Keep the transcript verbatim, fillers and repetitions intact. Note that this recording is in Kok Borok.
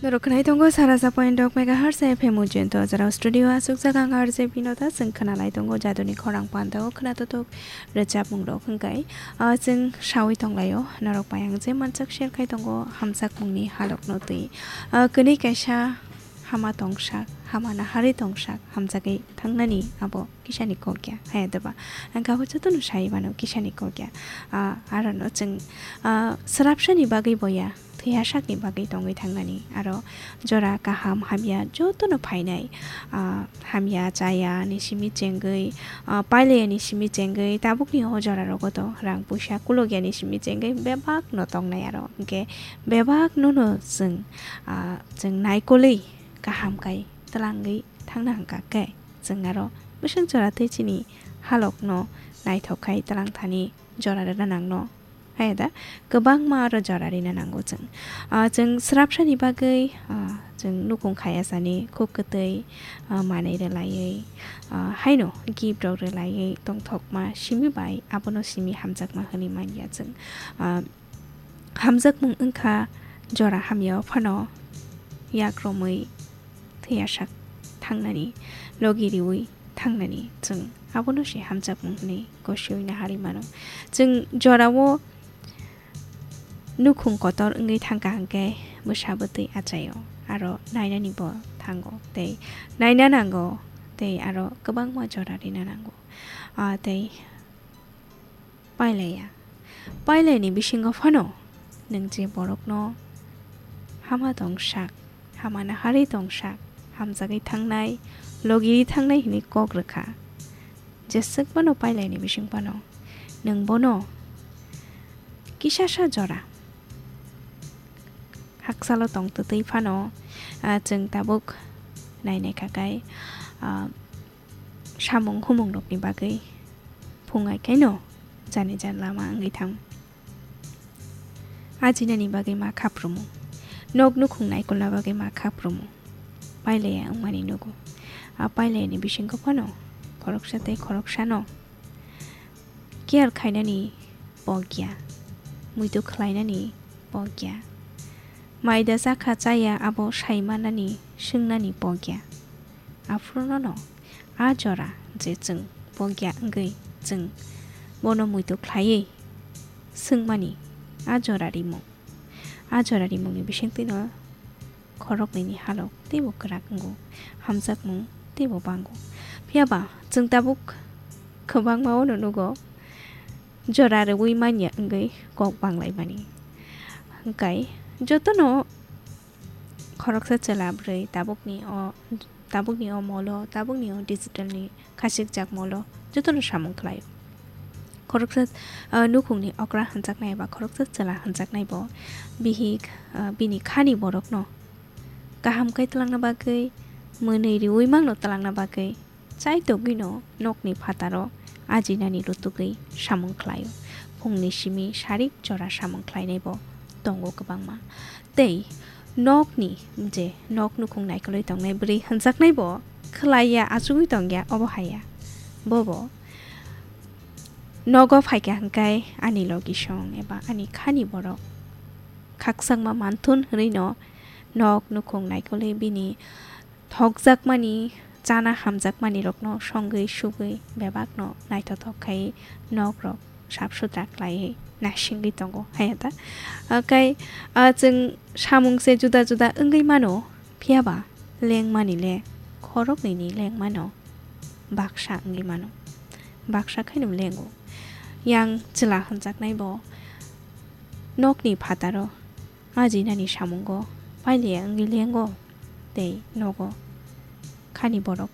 Norok khwnai tongo sara sa point dok megahertz F M Ujjayanta o jora o studio aswk jaga ang R J Binota, chwng khwnalai tongo jaduni khorang panda o khwnatotok rwchapmung rok hwnkhe, ah, chwng sawi tonglaio norok bai ang je mansak share khai tongo hamjakmungni halokno twi. Ah, kwnwi kaisa hama tongsak, hama naharwi tongsak, hamjagwi thangnani abo kisani kok ya, haya doba. Ang kha jotono sai mano kisani kok ya. Ah, arono chwng, ah, swrapsani bagwi boya, thwiya sakni bagwi tongwi thangnani. Aro jora kaham hamya jotono phainai, ah, hamya chaya ni simi chengwi, ah, pailaya ni simi chengwi tabukni o jora rogo to rang puisa kulogya ni simi chengwi bebak no tongnai aro. Hwnkhe bebak no no chwng, ah, chwng naikolwi kaham kai twlangwi thangna hwnkha khe chwng aro bwswk jora twi chini halokno naithok khai twlang thani jora rwna nangno. Haya da, kwbangma aro jora rina nango chwng. Ah, chwng swrapsani bagwi, ah, chwng nukhung khaya sani khuk kwtwi, ah, manwi rwlaiwi, ah, haino gift rok rwlaiwi tongthokma simi bai abono simi hamjakma hwnwi manya chwng. Ah, hamjakmung wngkha jora hamya o phano yak romwi thwiyasak thangnani, logi riwi thangnani chwng abono se hamjakmung hwnwi gosiwi naharwi mano. Chwng jorao nukhung kotor wngwi thangkha hwnkhe bwsa bwtwi achaio, aro nainani bo thango tei naina nango tei aro kwbangma jora rina nango. Ah, tei pailaya. Pailaini bisingo phano nwng je borokno hama tongsak, hama naharwi tongsak, hamjagwi thangnai, logiwi thangnai hwnwi kok rwkha. Jeswk phano pailaini bising phano nwng bono kisasa jora haksalo tong twtwi phano, ah, chwng tabuk nainai kha kai, ah, samung humung rokni bagwi phungai kaino jani jan lama wngwi thang. Ajinani bagwi ma khaprumu, nok nukhung naikolna bagwi ma khaprumu, pailaya wngmani nugo. A pailayani bisingo phano khoroksa tei khoroksano care khainani pokya, muitu khlainani pokya, maida chakha chaya abo saimanani swngnani pokya. Aphuru nono a jora je chwng pokya wngwi chwng bono muitu khlaiwi swngmani a jora rimung. A jora rimungni bisingtwino khoroknwini halok teibo kwrak wngo, hamjakmung teibo bango. Phiyaba chwng tabuk kwbangma-o no nugo jora rwui manya wngwi kok banglaimani. Hwnkhe jotono khoroksa chwla bwrwi tabukni o, tabukni o molo, tabukni o digitalni khasikjak molo jotono samung khlaio. Khoroksa, ah, nukhungni okra hwnjaknai eba khoroksa chwla hwnjaknai bo bihik, ah, bini khani borokno kaham khe twlangna bagwi, mwnwi riui mangno twlangna bagwi chaitogwino nokni phataro ajinani rutugwi samung khlaio. Phungni simi sarik jora samung khlainaibo tongo kwbangma. Tei nokni je nok nukhung naikolwi tongnai bwrwi hwnjaknaibo khwlaiya achugwi tongya obo haiya. Bobo nogo phaikha hwnkhe ani logisong eba ani khani borok khakchangma manthun hwnwino nok nukhung naikolwi bini thokjakmani, chana hamjakmani rokno songwi sugwi bebakno naithothok khai nok rok sap sutra khlaiwi naisingwi tongo, haya ta? Akai, ah, chwng samung se juda juda wngwi mano, phiyaba lengmani le khoroknwini lengmano baksa wngwi mano, baksa khaino lengo. Yang chwla hwnjaknai bo nokni phataro ajinani samungo pailiya wngwi lengo tei nogo khani borok